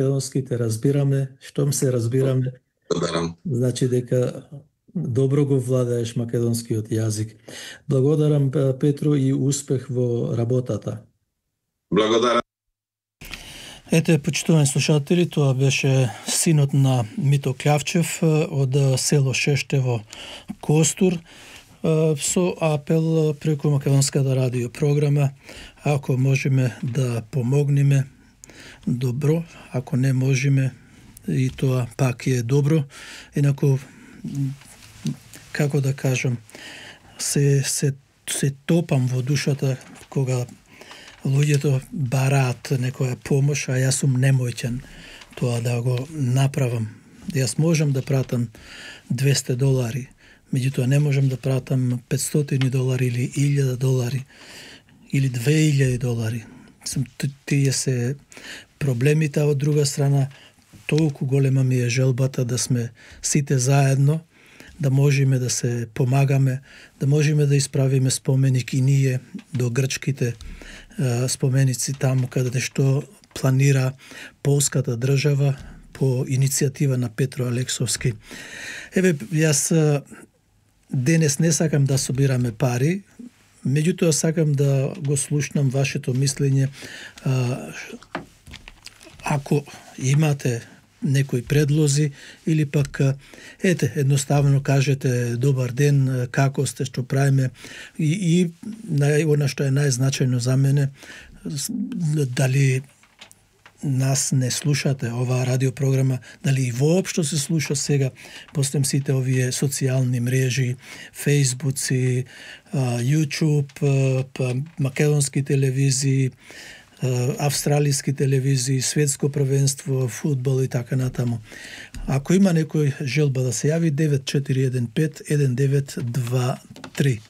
македонски, те разбираме, штом се разбираме, Благодарам. значи дека добро го владееш македонскиот јазик. Благодарам, Петро, и успех во работата. Благодарам. Ете, почитувани слушатели, тоа беше синот на Мито Клявчев од село Шештево, Костур, со апел преку Македонската радио програма, ако можеме да помогнеме, добро, ако не можеме, и тоа пак е добро. Инаку, како да кажам, се топам во душата кога луѓето бараат некоја помош, а јас сум немоќен тоа да го направам. Јас можам да пратам $200, меѓутоа не можам да пратам $500 или $1000 или $2000. Тие се проблемите, а од друга страна толку голема ми е желбата да сме сите заедно, да можеме да се помагаме, да можеме да исправиме споменик и ние до грчките споменици таму каде што планира полската држава по иницијатива на Петро Алексовски. Еве, јас денес не сакам да собираме пари, меѓутоа сакам да го слушнам вашето мислење. Ако имате некои предлози или пак ете едноставно кажете добар ден, како сте, што правиме, и она што е најзначајно за мене, дали нас не слушате, оваа радиопрограма, дали и воопшто се слуша сега, постем сите овие социјални мрежи, Фејсбуци, YouTube, македонски телевизии, австралиски телевизии, светско првенство, фудбал и така натаму. Ако има некој желба да се јави, 9415 1923.